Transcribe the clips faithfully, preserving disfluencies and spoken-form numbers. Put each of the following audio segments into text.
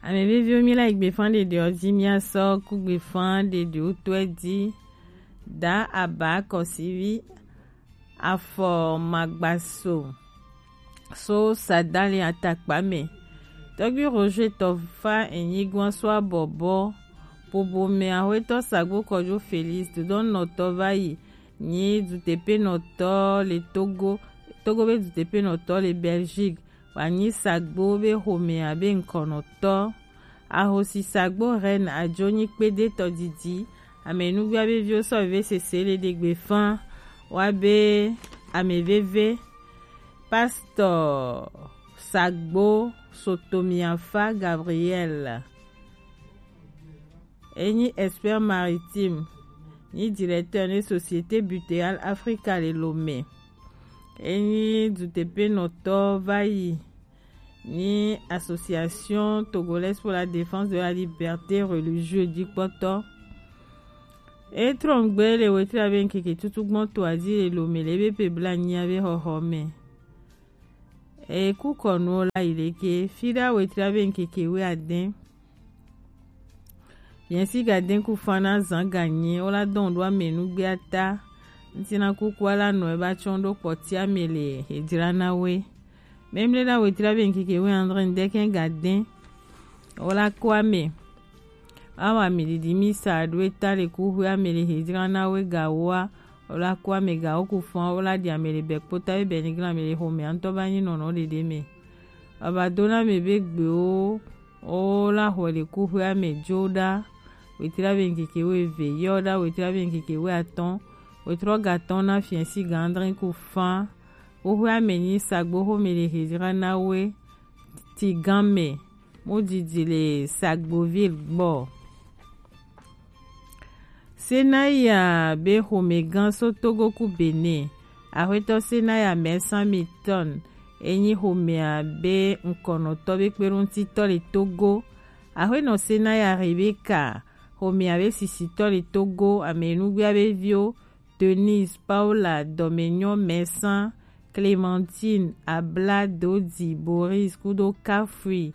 Ame veviwo, mi la yi gbefan ɖeɖewo ji, mi asɔ ku gbefan ɖeɖewo tɔe ji. Da aba kɔsivi afɔ magbaso so sadali atakpa me. Tɔgbi Roger Tɔfa enyi gwan so abɔbɔ. Pobo me ahwetɔ Sagbo Kɔjo Felix dodɔnnɔtɔ va yi nyi dutepenɔtɔ le Togo, Togo be dutepenɔtɔ le Belgique. Wa nyi Sagbo be xomea be ŋkɔnɔtɔ. Ahosi Sagbo Reine ajo nyi kpedetɔ didi. Ame nugba be viwo sɔ veve sese le ɖegbe fan. Wa be ame veve Pasteur Sagbo Sotomiafa Gabriel. Enyi expert maritime, ni directeur ne Société Butéale Africa le Lomé. Enyi dutepenɔtɔ va yi ni Association Togolaise pour la Défense de la Liberté Religieuse dikpɔtɔ. Etrɔngbe le wetri abe nkeke tutu gbɔn to azi le Lomé le be pe bla nyia be xɔxɔ me. Eku kɔnu la yi leke fi ɖa wetri abe nkeke we adɛn. Fiɛnsi ga dɛn ku fan na zan ga nyi, wo la dɔn ɖo ame nugbe ata. Ŋuti na kuku ala nɔ eba tsɔn ɖo kpɔti ame le hedzra na we. Memle ɖa wetri abe nkeke we andre ndɛkɛ ga dɛn. Wo la kɔ ame. Awa mi ɖiɖi mi sa ɖo eta le kuxu ame le hedzra na we ga woa. Wo la kɔ ame ga wo ku fan, wo la ɖi ame le bɛ kpota be bɛ ni glan ame le xomea ŋutɔ ba nyi nɔnɔ ɖeɖe me. Baba do na ame be gbewo. Wo la xɔe le kuxu ame jo ɖa. Wetri abe nkeke we ve yɔ ɖa, wetri abe nkeke we atɔn. Wetrɔ ga tɔn na fiɛnsi ga andre ku fan. Kuxu ame nyi Sagbo xome le hedzra na we. Ti gan me. Mo didi le Sagboville gbɔ. Senaya be xomegã so Togo ku Benin. Axwetɔ Senaya Mɛsan Mitɔn enyi xomea be ŋkɔnɔtɔ be kpeɖoŋutitɔ le Togo. Axwenɔ Senaya Rebeka xomea be sisitɔ le Togo, ame nugbea be viwo Denise, Paola, Dɔmenyɔ, Mɛsan, Clémentine, Abla, Dodi, Boris kudo Kafui.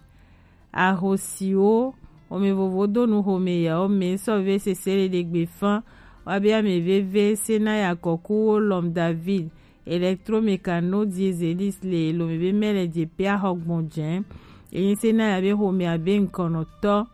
Ahosiwo, xome vovo do nu xome yawo me sɔ ve sese le ɖegbe fan. Wa be ame veve Senaya Kɔkuwo, Lɔm David, Electromecano, Dieselis le Lomé be mɛ le je pe axɔ gbɔn jɛn. Enyi Senaya be xome abe ŋkɔnɔtɔ.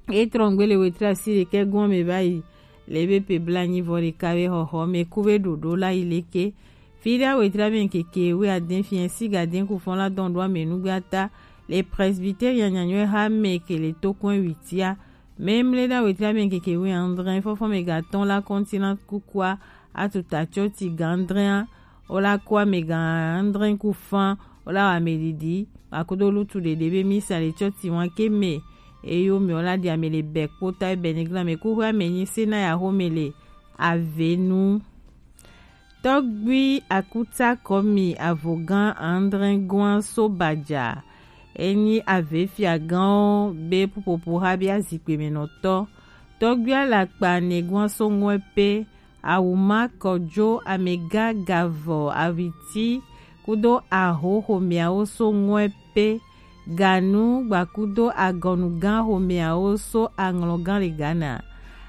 Etrɔngbe le wetri asi ɖekɛ gɔn me va yi le be pe bla nyi vɔ ɖeka be xɔxɔ me ku be ɖoɖo la yi leke. Fi ɖa wetri abe nkeke we adɛn fiɛnsi ga dɛn ku fɔn la dɔn ɖo ame nugbe ata le presbytérien nyanyɔe ha me ke le tokɔn witia. Memle ɖa wetri abe nkeke we andre fɔfɔ me ga tɔn la kɔntina kukua atuta tsɔ ti ga andrea. Wo la kɔ ame ga andre ku fan, wo la wa ame ɖiɖi, akudo lutu ɖeɖe be misa le tsɔ ti wan ke me. Eyo me wo la ɖi ame le bɛ kpota be ni glan me kuxu ame nyi Senaya xome le avenu. Tɔgbi akuta kɔmi avogan andre gwan so baja. Enyi ave fiagãwo be pupopo ha be azikpe me nɔtɔ. Tɔgbi alakpa ne gwan so ŋɔe pe. Awuma Kɔjo, Amega Gavɔ, Awiti kudo Aho xomeawo so ŋɔe pe. Ganu gbakudo Agɔnugan xomeawo so Aŋlɔgan le Ghana.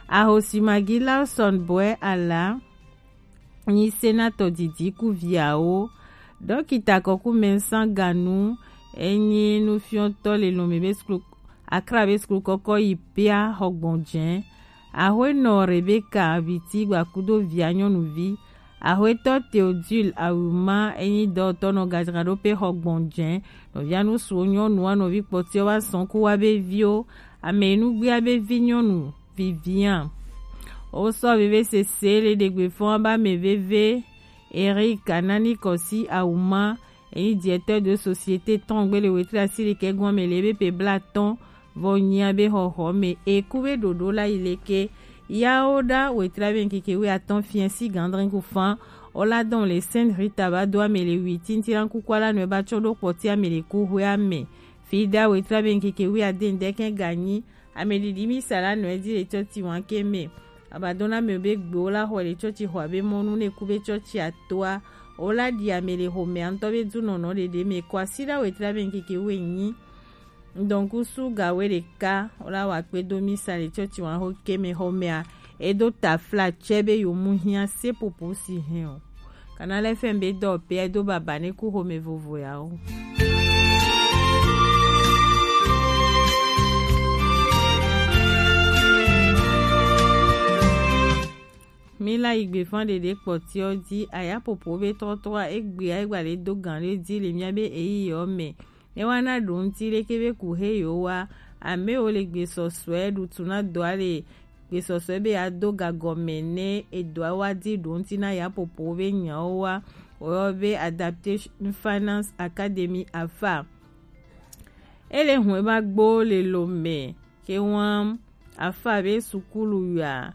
Ahosi Magi Lawson Boɛ Ala nyi senatɔ didi ku viawo. Dɔkita Kɔku Mɛnsan Ganu enyi nufiɔtɔ le Lomé be suklu Akra be suklu kɔkɔ yi pia xɔgbɔn jɛn. Axwenɔ Rebeka Viti gbakudo via nyɔnuvi. Axwetɔ Theodule Awuma enyi dɔtɔ nɔ gadzraɖo pe xɔgbɔn jɛn. Nɔvia nusuwo nyɔnua nɔvi kpɔtiɔ wa sɔn ku wa be viwo. Ame nugbia be vi nyɔnu vivian. Wo sɔ veve sese le ɖegbe fɔn ba me veve. Eric Anani Kɔsi Awuma, eyi directeur de société tɔn gbe le wetri asi ɖekɛ gɔn me le ebe pe blatɔn vɔ nyia be xɔxɔ me eku be ɖoɖo la yi leke. Yawo ɖa wetri abe nkeke wi atɔn fiɛ si gandrin ku fan. Ola dɔn le Sainte Rita ba do ame le wi tintin la kuku ala nɔ ba tsɔ ɖo kpɔti ame le ku hwe ame. Fi ɖa wetri abe nkeke wi aden dɛkɛ ganyi. Ame ɖiɖi mi sa la nɔ edi le tsɔ ti wan ke me. Abadona me be gbe wo la xɔ le tsɔtsi xɔ abe mɔnu ne ku be tsɔtsi atoa. Wo la ɖi ame le xomea ŋutɔ be dunɔnɔ ɖeɖe me kɔ asi ɖa wetri abe nkeke wi enyi. ŋdɔnkusu ga we ɖeka wo la wa kpe do misa le cɔci wa ho ke mɛ xɔ mɛa, e do tafla cɛ be yo mu hiã sepopo si hɛn o. Canal F M be dɔ pe e do baba ne ku xome vovo ya o. Mi la yi gbe fan ɖeɖe kpɔtiɔ ji aya popo be trɔtrɔ a egbe a egba le do gan le ji le mia be eyi yɔ mɛ. Ne wa na ɖo ŋuti leke be ku he yo wa ame wo le gbesɔsɔe ɖutu na dɔa le gbesɔsɔe be ya do gagɔme ne edɔa wa di ɖo ŋuti na ya popo be nyawo wa woyɔ be Adaptation Finance Academy afa. Ele hwɛ ba gbo le lo mɛ ke wan afa be sukulu ya.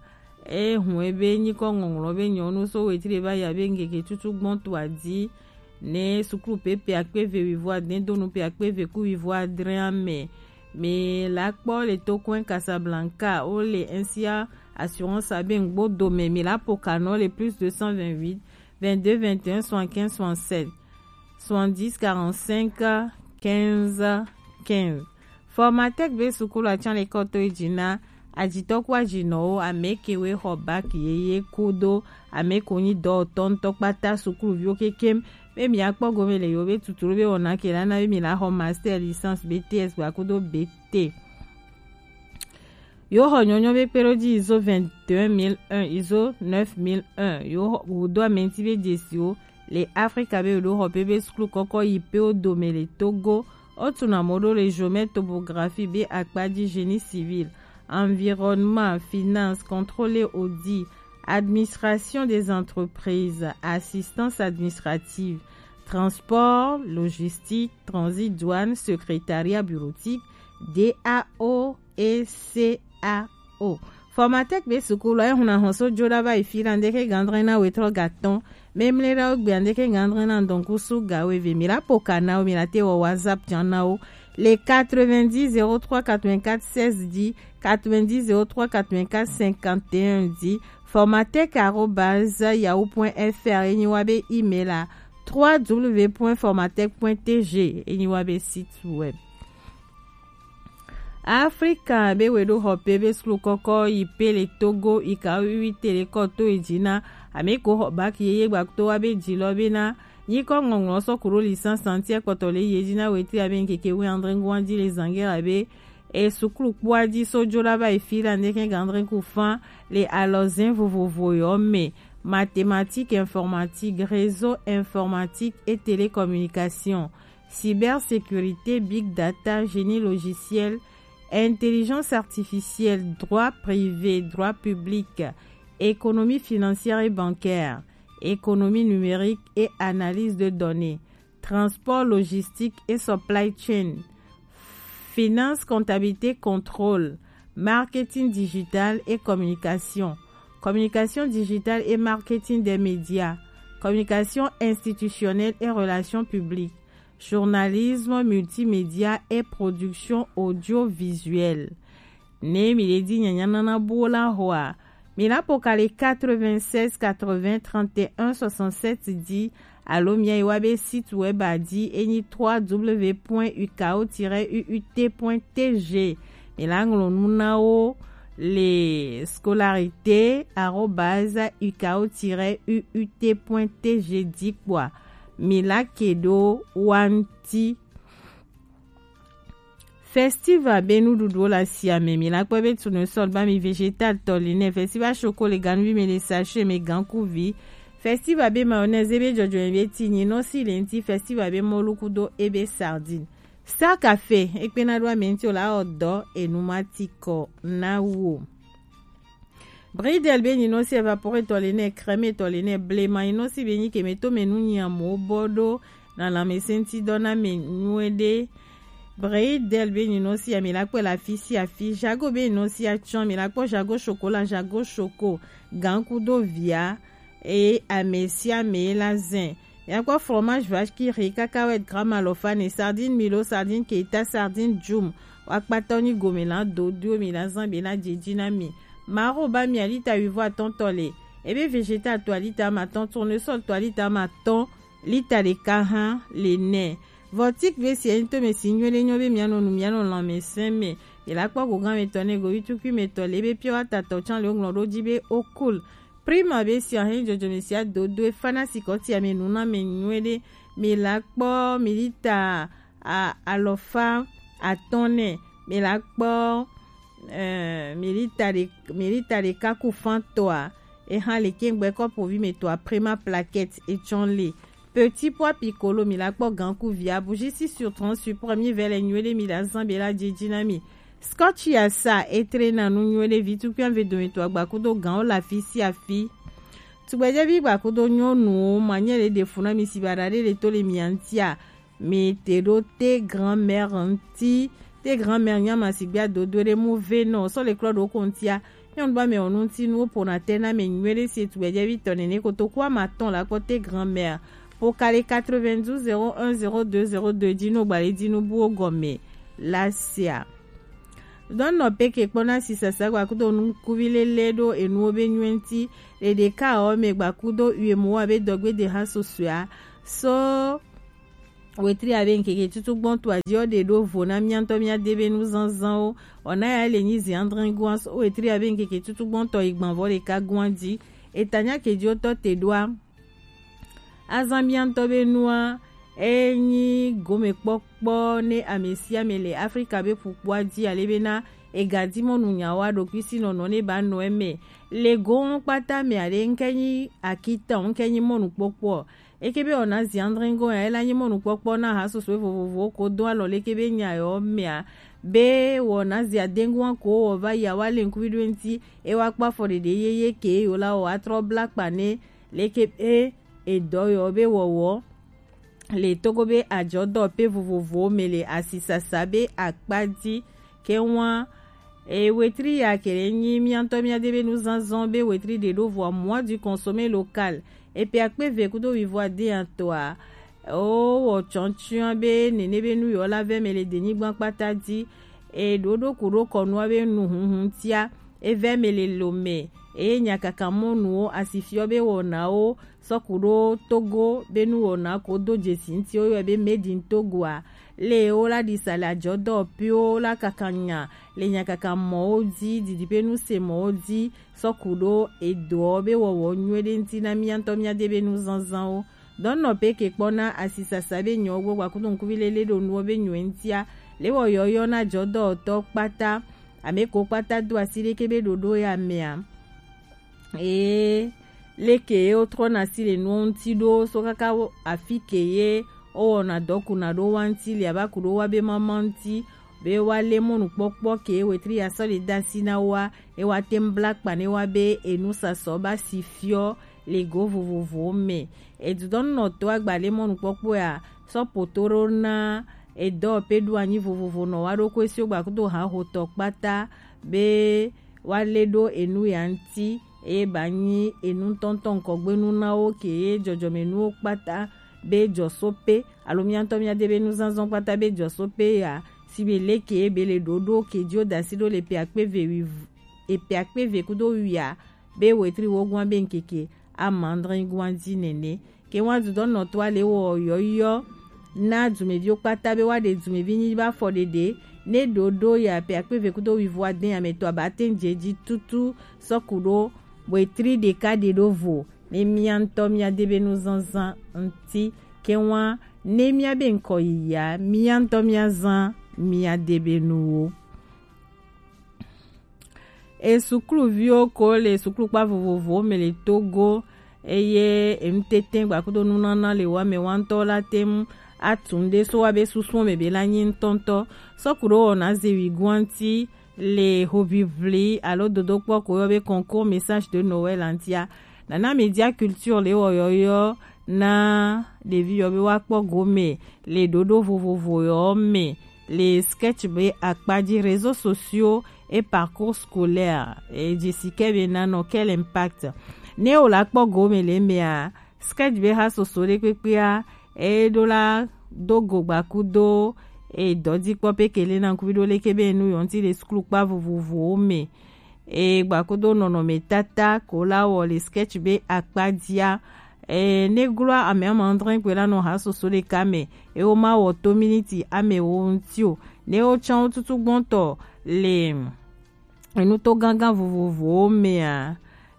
E hwɛ be nyikɔ ŋɔŋlɔ be nyɔnu so wetri ba ya be ŋgege tutu gbɔn to adi ne sukulu pepe akpe ve wivo adin donu pe akpe ve ku wivo adre ame. Mi la kpɔ le tokɔn Casablanca wo le N C A assurance abe ŋgbo dome mi la pokanɔ le plus deux cent vingt-huit, vingt-deux, vingt et un, soixante-quinze, soixante-sept, soixante-dix, quarante-cinq, quinze, quinze. Formatec be sukulu atsan le kɔto yi dzi na ajitɔ ku ajinɔwo, ame kewo xɔ bac yeye kudo ame ko nyi dɔwɔtɔ ŋutɔ kpata sukuluviwo kekem be mi akpɔ gome le yo be tuturu be wɔna ke la na be mi la xɔ master, licence, B T S gba kudo B T. Yo xɔ nyɔnyɔ be kpeɖo ji izo vingt et un mille un, izo neuf mille un. Yo xɔ wudo ame ŋuti be dzesiwo le Afrika be yo ɖo xɔ pe be sukulu kɔkɔ yi pe wo dome le Togo. Wo tuna mo ɖo le géomètre, topographie be akpa ji, génie civil, environnement, finance, contrôle et audit, administration des entreprises, assistance administrative, transport, logistique, transit, douane, secrétariat bureautique, D A O et C A O. Formatec be sukulu e huna hɔn so jo da ba yi fi la ndeke gandre na wetrɔ gatɔn. Memle da o gbe ndeke gandre na ndɔnku su ga we ve mi la poka na o mi la te wɔ WhatsApp tian na o. Le quatre-vingt-dix zéro trois quatre-vingt-quatre seize dix, quatre-vingt-dix zéro trois quatre-vingt-quatre cinquante et un dix, formatec arobase yahoo point F R, enyi wa be email a, trois W point formatec point T G, enyi wa be site web. Afrika be we ɖo xɔ pe be sukulu kɔkɔ yi pe le Togo yi ka wiwi te le kɔ to yi dzi na ame ko xɔ bac yeye gba to wa be dzi lɔ be na nyikɔ ŋɔŋlɔ sɔ ku ɖo licence ŋuti kpɔtɔ le yi dzi na wetri abe ŋkeke wi andre ŋgɔn dzi le zangera be e sukulu kpɔa dzi so jo la va yi fi la ndeke gandre ku fan le alɔzɛn vovovo yɔ me: mathématiques, informatique, réseau informatique et télécommunication, cybersécurité, big data, génie logiciel, intelligence artificielle, droit privé, droit public, économie financière et bancaire, économie numérique et analyse de données, transport logistique et supply chain, finance, comptabilité, contrôle, marketing digital et communication, communication digitale et marketing des médias, communication institutionnelle et relations publiques, journalisme, multimédia et production audiovisuelle. Ne mi le di nyanya nana bo la hoa, mi la poka le quatre-vingt-seize quatre-vingts trente et un soixante-sept dix, alo mi ayi wa be site web a di, enyi trois W point U K O tiret U U T point T G. Mi la ŋlɔ nu na wo le scolarité arobase U K O tiret U U T point T G di kpɔa. Mi la ke ɖo wa ŋuti. Festival be nuɖuɖuwo le asia me. Mi la kpɔe be tournesol, ba mi vegetal, tɔlinɛ, festival choco le ganuvi me, le sachet me, gankuvi. Festival be mayonnaise be jɔjɔɛ be ti nyinɔsi le ŋuti, festival be mɔlu kudo ebe sardine. Star Café, ekpena ɖo ame ŋuti o la wɔ dɔ enu ma ti kɔ na wo. Bridel be nyinɔsi évaporé tɔ le nɛ, crème tɔ le nɛ, blema nyinɔsi be nyi keme to me nu nyi amewo bɔ ɖo na lãmesẽ ŋuti dɔ na me nyuie ɖe. Bridel be nyinɔsi ami la kpɔe le afi sia afi. Jago be nyinɔsi atsɔ ami la kpɔ Jago chocolat, Jago choco, gan kudo via, eye ame sia ame la zɛ. Miakpɔ fromage vache qui rit, cacahuète gramme alofane, sardine milo, sardine keta, sardine djum. Wakpatɔ nyi gome la do dio mi la zan be na djidji na mi. Maro ba mi alita huit voire atɔntɔ le. Ebe vegetal to alita ma tɔn, tournesol to alita ma tɔn, lita ɖeka hã le nɛ. Vɔtik be si enyi to mɛ si nyuie ɖe nyɔ be mia nɔ nu mia nɔ lãmesẽ mɛ. Mi la kpɔ gogan mɛ tɔ ne govi tukui mɛ tɔ le be pure water tɔ can le wo ŋlɔ ɖo dzi be okul. Prima be si ahe jɔjɔme sia dodo e fana si kɔtia mɛ nu na mɛ nyuie ɖe. Mi la kpɔ mi lita a alɔfa atɔ̃ nɛ. Mi la kpɔ eh, mi lita ɖe mi lita ɖeka ku fan tɔa. E hã le kengbe kɔpovi mɛ tɔa Prima plaquette e tsɔn le. Petit pois piccolo mi la kpɔ gan ku via bougie six sur trente sur premier vɛ le nyuie ɖe mi la zan be la djidji na mi. Scotch ya sa e tre na nu nyuie ɖe vi tukui ave dome to agba kudo gan o la fi si afi. Tugbɛjɛvi gba kudo nyɔnuwo manyɛ le ɖe fu na mi si ba ɖa ɖe le to le mia ŋtia. Mi te ɖo te grand-mère ŋti. Te grand-mère nya ma sigbe adodo ɖe mu ve nɔ sɔ le klɔ ɖo ko ŋtia. Nyɔnu ba mɛ o nu ŋti nu wo pona te na mɛ nyuie ɖe si tugbɛjɛvi tɔ nene kotoku ama tɔn la kpɔ te grand-mère. Po kale quatre-vingt-douze zéro un zéro deux zéro deux dzi no gba le dzi nu buwo gɔme la sia. Dɔn nɔ peke kpɔ na sisasa gba kudo nukuvi lele ɖo enuwo be nyuie ŋti. Ɖeɖeka o mɛ gba kudo uye mo wa be dɔgbe de ha sosoa. So wetri abe ŋkeke tutu gbɔn to adzi ɔ ɖe ɖo vo na mia ŋtɔ mia de be nu zanzanwo. Ɔ na ya le nyi zi andre goa so wetri abe ŋkeke tutu gbɔn tɔ yi gban vɔ ɖeka goa dzi. Eta nya ke dzi wotɔ te ɖoa. Azan mia ŋtɔ be nua enyi gomekpɔkpɔ ne ame sia ame le Afrika be ƒukpoa dzi ale be na ega di mɔnu nyawo aɖokui si nɔnɔ ne ba nɔ eme. Le gowo kpata me aɖe ŋke nyi akitɔ ŋke nyi mɔnukpɔkpɔ. Eke be wɔna zi andre ŋgɔ ya ela nyi mɔnukpɔkpɔ na ha soso vovovowo ko do alɔ leke be nya yɔ mea be wɔna zi adengoa ko wɔ va yi awa le ŋkuvi ɖo ŋti. E wa kpɔ afɔ ɖeɖe yeye ke yo la wɔ atrɔ bla kpa ne leke be edɔ yɔ be wɔwɔ le Togo be adzɔdɔ pe vovovowo me le asisasa be akpa dzi ke wa. E wetri ya ke le nyi mia ŋtɔ mia de be nuzazɔ be wetri ɖe ɖo vɔa mois du consommé local. E pe akpe ve kudo wivo ade ya tɔa o wɔ tsɔntsɔa be nene be nu yɔ la vɛ me le denyigba kpata dzi. E ɖo ɖo ku ɖo kɔnua be nu hunhun tia. E vɛ me le lo me. Eye nyakaka mɔnuwo asifiɔ be wɔnawo sɔku ɖo Togo be nu wɔna ko do dzesi ŋti wo yɔ be made in Togo a. Le wo la ɖi sa le adzɔdɔ piwo la kaka nya le nyakaka mɔwo dzi didi be nu se mɔwo dzi sɔku ɖo edoɔ be wɔwɔ nyuie ɖe ŋti na mia ŋtɔ mia de be nu zanzanwo. Dɔnɔ pe ke kpɔ na asisasa be nyɔ gbɔ gba kudo ŋkuvi lele ɖo nuwo be nyuie ŋtia. Le wɔ yɔyɔ na dzɔdɔtɔ kpata ame ko kpata do asi ɖeke be ɖoɖo ya mea. Ee, leke ye wotrɔna asi le nuwo ŋuti ɖo so kaka wo- afi ke ye wowɔna dɔ kuna ɖo wa ŋuti le ava ku ɖo wa be mama ŋuti be wa le mɔnukpɔkpɔ ke ye wetri ya sɔ le da asi na wa ye wa te ŋu bla kpa ne wa be enu sasɔ ba si fiɔ le go vovovowo me. Edudɔnunɔtɔ agba le mɔnukpɔkpɔ ya sɔ poto ɖo na edɔ pe ɖo anyi vovovo nɔ wa ɖo ko esi wo gba kudo ha hotɔ kpata be woalé ɖo enu ya ŋuti, eye ba nyi enu tɔntɔn ŋkɔgbenu na wo ke ye dzɔdzɔmenuwo kpata be dzɔsope alo mía ŋutɔ mía de be nuzazɔ kpata be dzɔsope ya, si be leke ye be le ɖoɖo ke dzi wo da asi ɖo le ƒe akpe eve wui, ƒe akpe eve kudo wuia be wetri wogoa be ŋkeke ama adre goa dzi nene. Ke wa dudɔnɔtɔa le wɔ yɔyɔ na dumeviwo kpata be woaɖe dumevi nyi be afɔɖeɖe ne ɖoɖo ya ƒe akpe eve kudo wuivo ade ya me tɔ aba te ŋu dze dzi tutu sɔ ku ɖo wetri ɖeka ɖe ɖo vo ne mía ŋutɔ mía de be nuzazã ŋuti. Ke wa ne mía be ŋkɔ yiyia mía ŋutɔ mía zã mía de be nuwo. E sukluviwo ko le suklukpa vovovowo me le Togo, eye enutete gbakudo nunana le wa me wa ŋutɔ la te ŋu atu nu ɖe so wa be susuwo me be la nyi ŋutɔŋutɔ. Sɔ ku ɖo wɔna zewi guanti le hoʋiʋli alo dodokpɔ ko yɔ be concours message de Noël ŋutia. Nana Media Culture le wɔ yɔyɔ na ɖevi yɔ be woakpɔ gome le ɖoɖo vovovo yɔ me le sketch be akpa dzi, réseaux sociaux et parcours scolaire. E dzi si ke be nanɔ quel impact ne o la kpɔ gome le mea, sketch be ha soso ɖe kpekpea e ɖo la do go gbakudo e dɔdzikpɔ pe ke le na ŋkuvi ɖo leke be nu yɔ ŋuti le suklukpa vovovowo me. E gbakudo nɔnɔmetata ko la wɔ le sketch be akpa dzia. e ne gloa ame ama andre kpe la nɔ ha soso ɖeka mɛ, e wo ma wɔ to miniti ame wo ŋti o. Ne wo tsã wo tutu gbɔntɔ le enu to gangan vovovowo mea,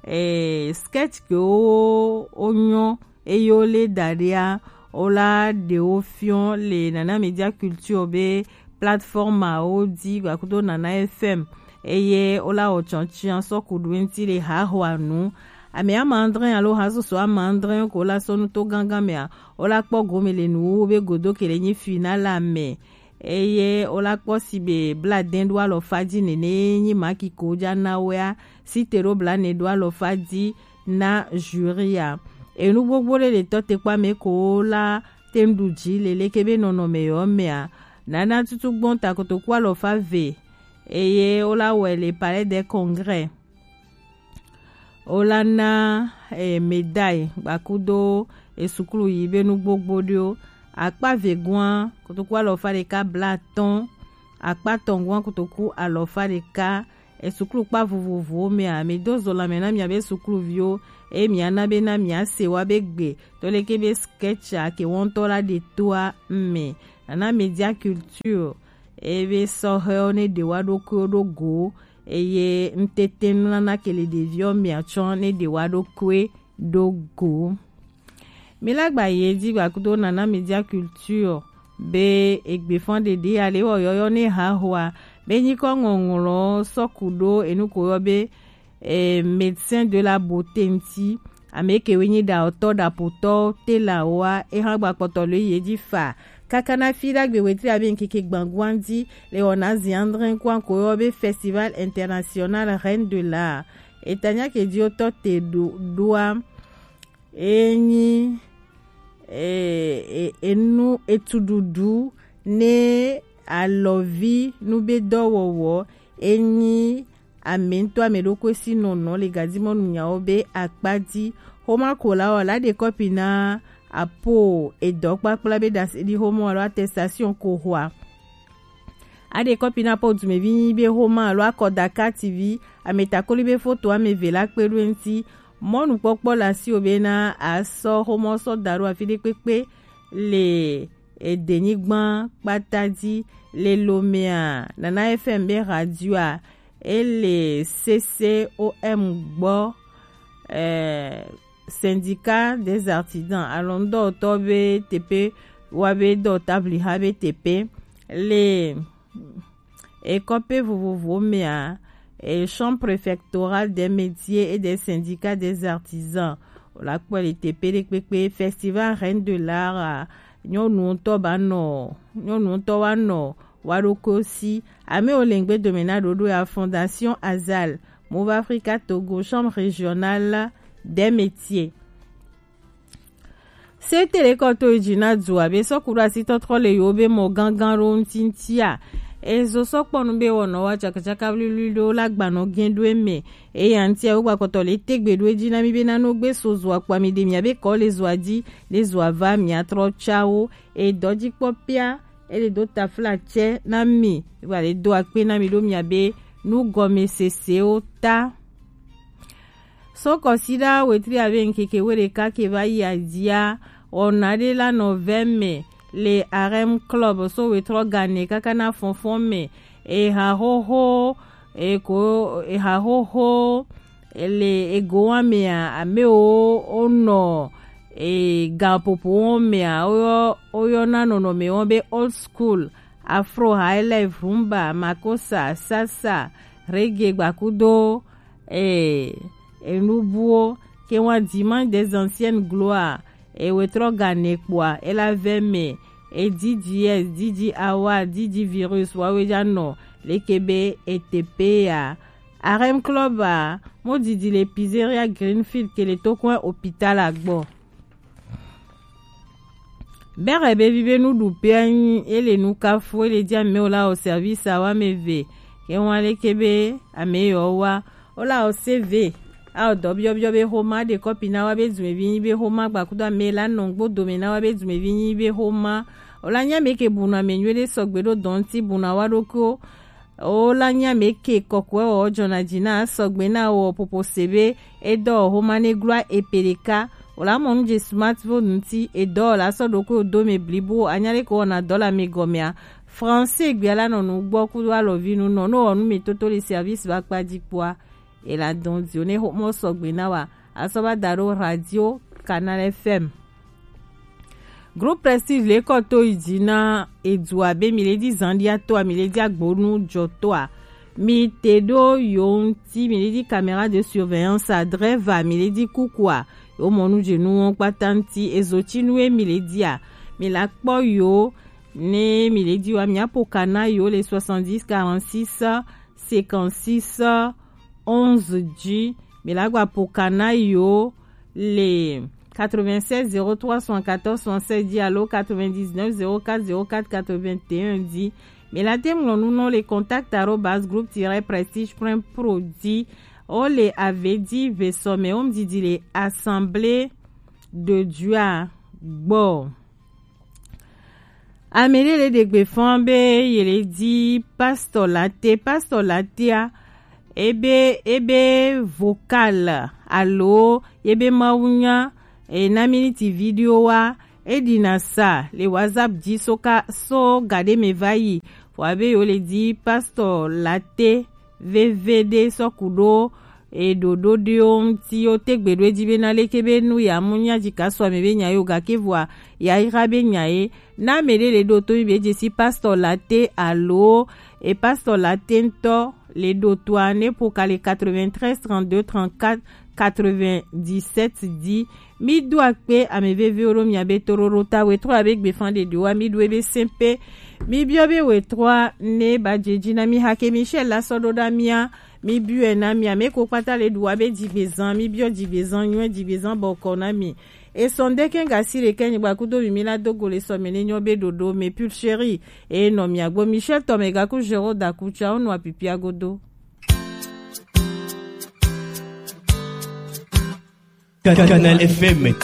e sketch ke wo wo nyɔ eye wo le da ɖea, wo la ɖe wo fiɔ le Nana Media Culture be plateforme awo dzi gbakudo Nana F M, eye wo la wɔ tsɔtsiã sɔ ku ɖo eŋti le hahoa nu. Ame ama andre alo hasoso ama andre ko la sɔ nu to gangan mea, wo la kpɔ gome le nuwo be godo ke le nyi finale mɛ, eye wo la kpɔ si be bla dɛn ɖo alɔfa dzi nene nyi maki ko dza na wea, si te ɖo bla ne ɖo alɔfa dzi na jury a. Enu gbogbo ɖe le tɔ te kpa me ko wo la te ŋ ɖu dzi le leke be nɔnɔme yɔ mea, Nana tutu gbɔn ta kotoku alɔfa ve, eye wo la wɔe le Palais des Congrès. Wo la na e médaille gbakudo e suklu yi be nu gbogbo ɖewo. Akpa ve gua kotoku alɔfa ɖeka blatɔn, akpa tɔn gua kotoku alɔfa ɖeka, e suklu kpa vovovowo mea, mi do zo lanmɛ na mia be sukluviwo, eye mia na be na mia se wa be gbe to leke be sketch a ke wɔntɔ la ɖe toa mɛ. Nana Media Culture ebe sɔhɛwo ne ɖe wa ɖokuiwo ɖo go, eye ŋtete nunana ke le ɖeviwo mea tsɔ ne ɖe wa ɖokui ɖo go. Mi la gba yi edzi gbakudo Nana Media Culture be egbefan ɖeɖe ale wɔ yɔyɔ ne hahoa be nyikɔ ŋɔŋlɔ sɔ ku ɖo enu ko yɔ be e, médecin de la beauté ŋti, ame ke wo nyi ɖaotɔ ɖapotɔ tela woa, eha gba kpɔtɔ le ye dzi fa. Kaka na fi ɖagbe wetri abe ŋkeke gbangua ŋti le wɔna zi andre kua ko yɔ be Festival International Reine de l'Art. Etanya ke dzi wotɔ te ɖo ɖoa, enyi e, e, enu etuɖuɖu ne alɔvi nu be dɔwɔwɔ, enyi ame ŋutɔ ame ɖokui si nɔnɔ le gadimɔnu nyawo be akpa dzi. Xoma ko la wɔ la ɖe kɔpi na apo edɔ kpakpla be ɖase ɖi xoma alo attestation ko xɔa. Aɖe kɔpi na po dumevi nyi be xoma alo akɔda kati vi ame takoli be foto ame eve la kpe ɖo eŋti. Mɔnukpɔkpɔ le asiwò bena asɔ xomɔ sɔ da ɖo afi ɖe kpekpe le edenyigba kpata dzi. Le Lomea, Nana F M be radioa, ele C C O M gbɔ, eh, Syndicat des Artisans, alɔnudɔwɔtɔ be teƒe, wa be dɔwɔtabliha be teƒe. Le ekɔƒe vovovowo mea, e, Chambre préfectorale des métiers et des syndicats des artisans. Wòle akpɔe le teƒe ɖe kpekpe. Festival Reine de l'Art a, nyɔnu ŋutɔ ba nɔ, nyɔnu ŋutɔ wa nɔ wa ɖokuiwo si. Amewo le ŋgbe dome na ɖoɖo ya, Fondation Azal, Move Africa Togo, Chambre régionale des métiers. Se te ɖe kɔ to yi dzi na du abe sɔku ɖo asi tɔtrɔ le yewo be mɔ gangan ɖo ŋuti ŋutia. Ezo sɔ kpɔ nu be wɔnɔ wa tsakatsaka vliwli ɖo la gbanɔ gɛn ɖo eme. Eya ŋutia wo gbakpɔtɔ le tegbe ɖo edzi na mi be nano gbe so zo akpa mi ɖe mia be kɔ le zoa dzi, le zoa va mia trɔ tsawo. Edɔ dzi kpɔ pia, ele do tafla tsɛ na mi, va le do akpe na mi ɖo mia be nugɔmesesewo ta. So kɔsiɖa wetri abe ŋkeke weɖeka ke va yi adzia, wɔna ɖe la nɔ vɛ me le Arem Club so wetrɔ gane kaka na fɔnfɔn me. Eha xoxo, eko, eha xoxo, ele ego wa mea, amewo wonɔ, e, gaƒoƒo wɔm mea, woyɔ, woyɔna nɔnɔme wɔm be old school, afro, highlife, rumba, makosa, salsa, reggae, gbakudo, e, enubuwo, ke wa dimanche des anciennes gloires, e wetrɔ gane kpoa, ela vɛ me, e D J S, D J Award, D J Virus, wawe ja nɔ, leke be e tepe ya. Arem Club a, mo didi le Pizzeria Greenfield ke le tokɔn hôpital a gbɔ. Bɛrɛ be vi be nuɖuƒea nyi, ele nu kafu, ele dzi amewo la wɔ service a wa ame eve. Ke ŋua leke be ame yewo wa, wo la wɔ C V, a wɔ dɔ biɔbiɔ be xoma ɖe kɔpi na wa be dumevi nyi be xoma gbakudo ame la nɔ ŋgbo dome na wa be dumevi nyi be xoma. Wo la nya ame ke bu nɔ ame nyuie ɖe sɔgbe ɖo dɔ ŋuti bu nɔ wa ɖokuiwo. Wo la nya ame ke kɔkɔe wɔ jɔna dzi na sɔgbe na wɔ popo se be edɔ wɔ xoma ne glua epe ɖeka. O la mɔ nu je smartphone ŋuti, edɔ la sɔ ɖo ko do me blibo, anya ɖe ko wɔna dɔ la me gɔmea. Français gbia la nɔ nu gbɔ kudo alɔvi nu nɔ, no wɔ nu me toto le service ba kpa ji kpoa. E la dɔn di o ne ho mɔ sɔgbe na wa, asɔ ba da ɖo radio Canal F M. Groupe Prestige le kɔ to yi dzi na edu abe mi le di zandia toa, mi le di agbonu jɔ toa. Mi te ɖo yo ŋuti, mi le di caméra de surveillance a, dreva, mi le di kukua. Yo mɔ nu je nu wɔn kpata ŋuti, ezo ci nu e mi le dia. Mi la kpɔ yo ne mi le di wa, mi apo kana yo le soixante-dix quarante-six cinquante-six onze ji. Mi la gba po kana yo le quatre-vingt-seize zéro trois soixante-quatorze soixante-seize ji alo quatre-vingt-dix-neuf zéro quatre zéro quatre quatre-vingt-un ji. Mi la te ŋlɔ nu nɔ le contact arobase groupe tiret prestige point pro ji. O le ave di ve sɔ me o mi didi le Assemblée de Dieu a gbɔ. Ame ɖe le ɖe gbe fɔn be ye le di pastor late, pastor latea, ebe, ebe vocal alo ebe mawunya, e na miniti video wa, e ɖi na sa le WhatsApp ji so ka so gaɖe me va yi. Vɔ abe yo le di pastor late veve ɖe sɔ ku ɖo e ɖoɖo ɖewo ŋuti wo te gbe ɖo edzi be na leke be nu ya mu nya dzi ka sɔ ame be nya yo gake vɔa ya yra be nya ye na ame ɖe le ɖo to mi be dze si pastor late alo e pastor late ŋutɔ le ɖo toa ne po ka le quatre-vingt-treize trente-deux trente-quatre quatre-vingt-dix-sept di. Mi do akpe ame veviwo ɖo mia be toɖoɖo ta we trɔ abe gbefan ɖeɖewo wa mi ɖo ebe sɛn pe. Mi biɔ be we trɔa ne ba dze dzi na mi hake Michel la sɔ ɖo ɖa mia. Mi biɔe na mi ame ko kpata le ɖu wa be dzigbezan, mi biɔ dzigbezan nyuie, dzigbezan bɔkɔ na mi. Esɔn ɖe kɛn gasi ɖe kɛ nyigba kudo mi mi la do go le sɔ me ne nyɔ be ɖoɖo me pul chéri. E nɔ mia gbo Michel tɔ me gaku zero daku tsa o nɔ apipia godo. Canal F M.